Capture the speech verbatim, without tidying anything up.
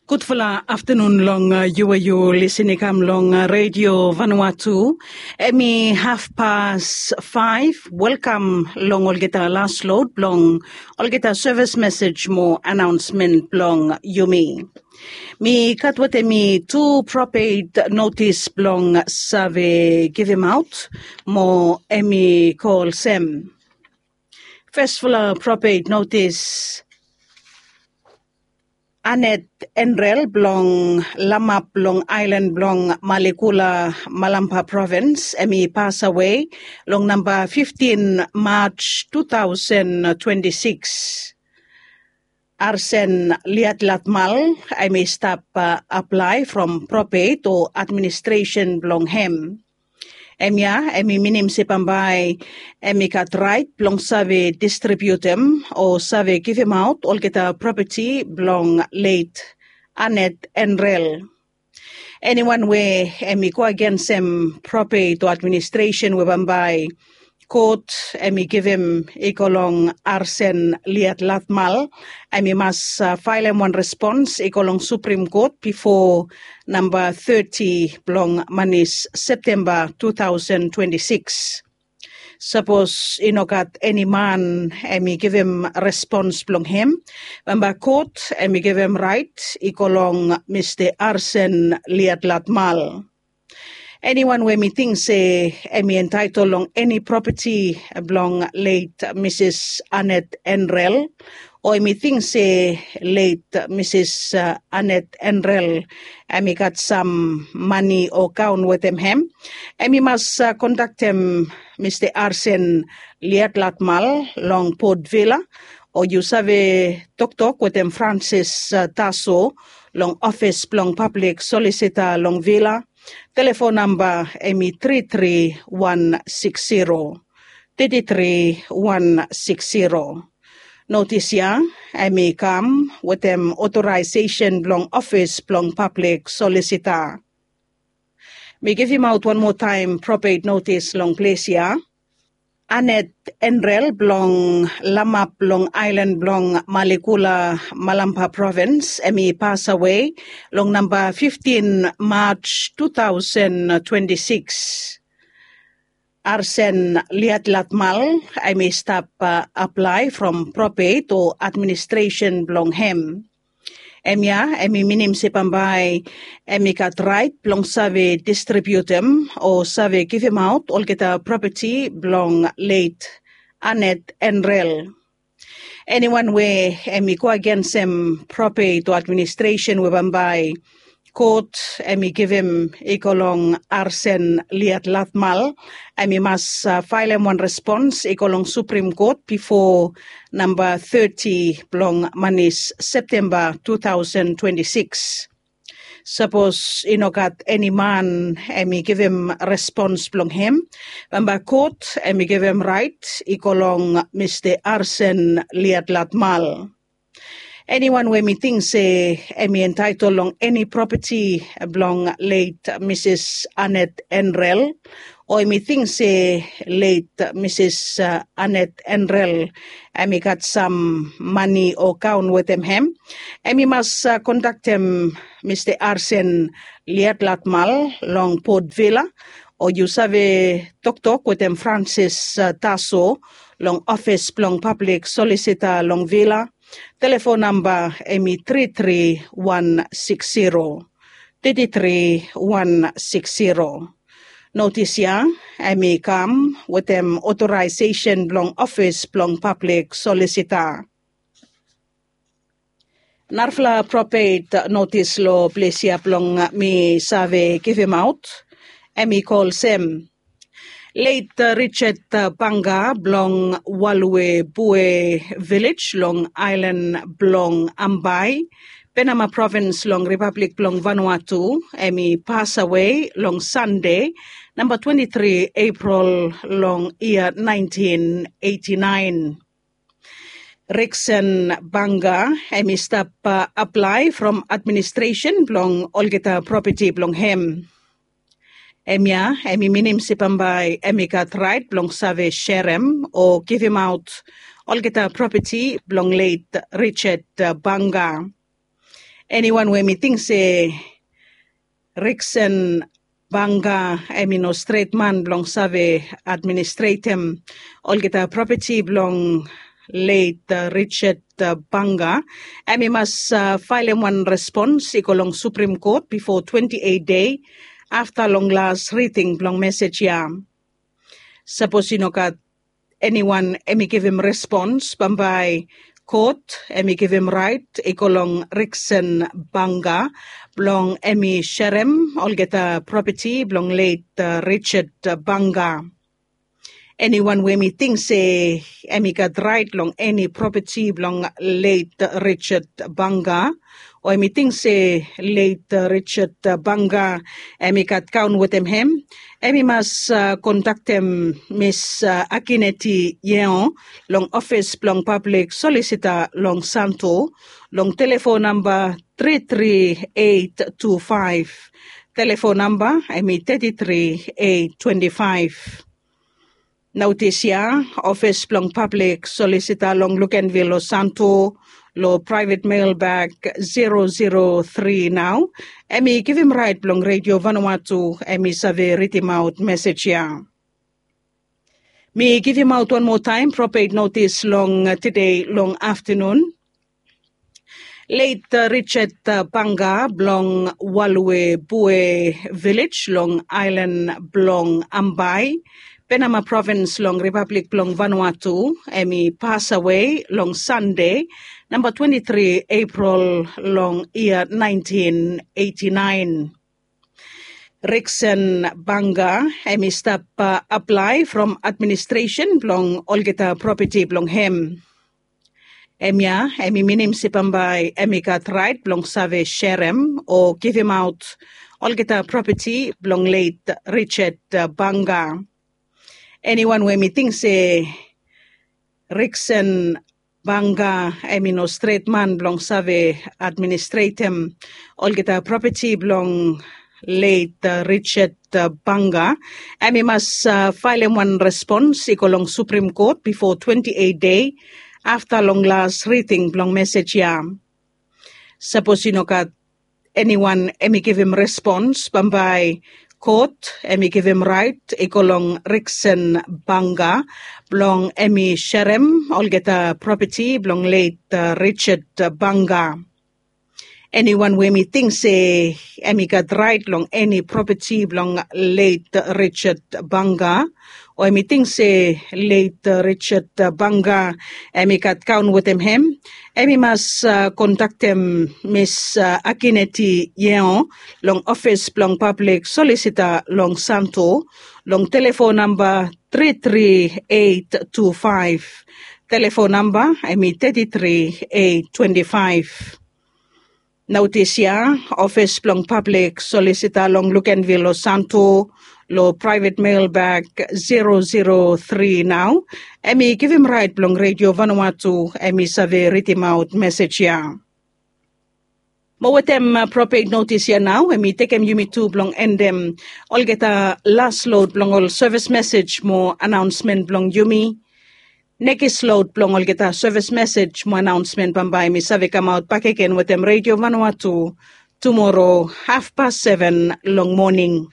Gudfala aftanun long yu we yu lisin i kam long redio Vanuatu. Em i hafpas faef. Welkam long olgeta las lod blong olgeta sevis mesej mo anaonsmen blong yumi. Mi gat wetem mi tu propet notis blong save givimaot mo em i go olsem. Fesfala propet notis. Anet Enrel blong Lamap long aelan blong Malikula, Malampa provins, em i pasawe long namba fiftin Maj tu taosen twenti sikis. Arsen Liatlatmal em i stap aplae from propet o administresen blong hem. Em ya em i minim se bambae em i gat raet blong save distribiutim o save givimaot olgeta propeti blong leit Anet Enrel. Eniwan we em i go agensem propet o administresen we bambae kot em i givim i go long Arsen Liatlatmal, em i mas faelem wan respons i go long Suprim Kot bifo namba teti blong manis Septemba tu taosen twenti sikis. Sapos i no gat eni man em i givim respons blong hem, bambae kot em i givim raet i go long Mista Arsen Liatlatmal. Eniwan we mi ting se em i entaetol long eni propeti blong leit Misis Anet Enrel, o em i ting se leit Misis Anet Enrel em i gat sam mani o gaon wetem hem, em i mas kontaktem Mista Arsen Liatlatmal long Port Vila, o yu save toktok wetem Francis Taso long ofis blong pablik solisita long Vila. Telefon namba em i tri tri wan sikis siro, tri tri wan sikis siro. Notis ya em i kam wetem otoraesesen blong ofis blong pablik solisita. Mi givimaot wan moa taem propet notis long ples ya. Anet Enrel blong Lamap long aelan blong Malikula, Malampa provins, em i pasawe long namba fiftin Maj tu taosen twenti sikis. Arsen Liatlatmal em i stap aplae from propet o administresen blong hem. Em ya em i minim se bambae em i gat raet blong save distribiutim o save givimaot olgeta propeti blong leit Anet Enrel. Eniwan we em i go agensem propet o administresen we bambae kot em i givim i go long Arsen Liatlatmal, em i mas faelem wan respons i go long Suprim Kot bifo namba teti blong manis Septemba tu taosen twenti sikis. Sapos i no gat eni man em i givim respons blong hem, bambae kot em i givim raet i go long Mista Arsen Liatlatmal. Eniwan we mi ting se em i entaetol long eni propeti blong leit Misis Anet Enrel, o em i ting se leit Misis Anet Enrel em i gat sam mani o gaon wetem hem, em i mas kontaktem Mista Arsen Liatlatmal long Port Vila, o yu save toktok wetem Francis Taso long ofis blong pablik solisita long Vila. Telefon namba em i tri tri wan sikis siro, tri tri wan sikis siro. Notis ya em i kam wetem otoraesesen blong ofis blong pablik solisita. Narafala propet notis long ples ya blong mi save givimaot em i go olsem. Leit Richard Banga blong Waluebue vilej long aelan blong Ambae, Penama provins long Ripablik blong Vanuatu, em i pasawe long Sande, namba twenti tri Epril long yia naentin eiti naen. Riksen Banga em i stap aplae from administresen blong olgeta propeti blong hem. Hemia em i minim se bambae em i gat raet blong save serem o givimaot olgeta propeti blong leit Richard Banga. Eniwan we mi ting se Riksen Banga em i no stret man blong save administretem olgeta propeti blong leit Richard Banga, em i mas faelem wan respons i go long Supreme Kot bifo twenti eit dei afta long las riting blong mesej ya. Sapos i no gat eniwan em i givim respons, bambae kot em i givim rait i go long Riksen Banga blong em i serem olgeta propeti blong leit Richard Banga. Eniwan we em i ting se em i gat rait long eni propeti blong leit Richard Banga, o em i ting se leit Richard Banga em i gat kaon wetem hem, em i mas kontaktem Mis Akineti Yeo long ofis blong pablik solisita long Santo long telefon namba tri tri eit tu faef. Telefon namba em i teti tri eit twenti faef. Notis ya, ofis blong pablik solisita long Lukenvil o Santo, long praevet mel bag zero zero tri nao, em i givim rait blong Redio Vanuatu em i save ridimaot mesej ya. Mi givimaot wan moa taem propet notis long tede long aftanun. Leit Richard Banga blong Walue Bue Vilej long aelan blong Ambae, Penama provins long Ripablik blong Vanuatu, em i pasawe long Sande, namba twenti tri Epril long yia naentin eiti naen. Riksen Banga em i stap aplae from administresen blong olgeta propeti blong hem. Hemia em i minim se bambae em i gat raet blong save serem o givimaot olgeta propeti blong leit Richard Banga. Eniwan we em i ting se Riksen Banga em i no stret man blong save administretem olgeta propeti blong leit Richard Banga, em i mas faelem wan respons i go long Suprem Kot bifo twenti eit dei afta long las riting blong mesej ya. Sapos i no gat eniwan em i givim respons, bambae kot em i givim raet i go long Riksen Banga blong em i serem olgeta propeti blong leit Richard Banga. Eniwan we em i ting se em i gat raet long eni propeti blong leit Richard Banga, o em i ting se leit Richard Banga em i gat kaon wetem hem, em i mas kontaktem Mis Akineti Yeo long ofis blong pablik solisita long Santo long telefon namba tri tri eit tu faef. Telefon namba em i teti tri eit twenti faef. Notis ya, ofis blong pablik solisita long Lukenvil o Santo, long praevet mel bag zero zero tri nao, em i givim raet blong Redio Vanuatu em i save ridimaot mesej ya. Mo wetem propet notis ya nao em i tekem yumi tu blong endem olgeta las lod blong ol sevis mesej mo anaonsmen blong yumi. Nekis lod blong olgeta sevis mesej mo anaonsmen bambae mi save kamaot bakegen wetem Redio Vanuatu tumoro hafpas seven long moning.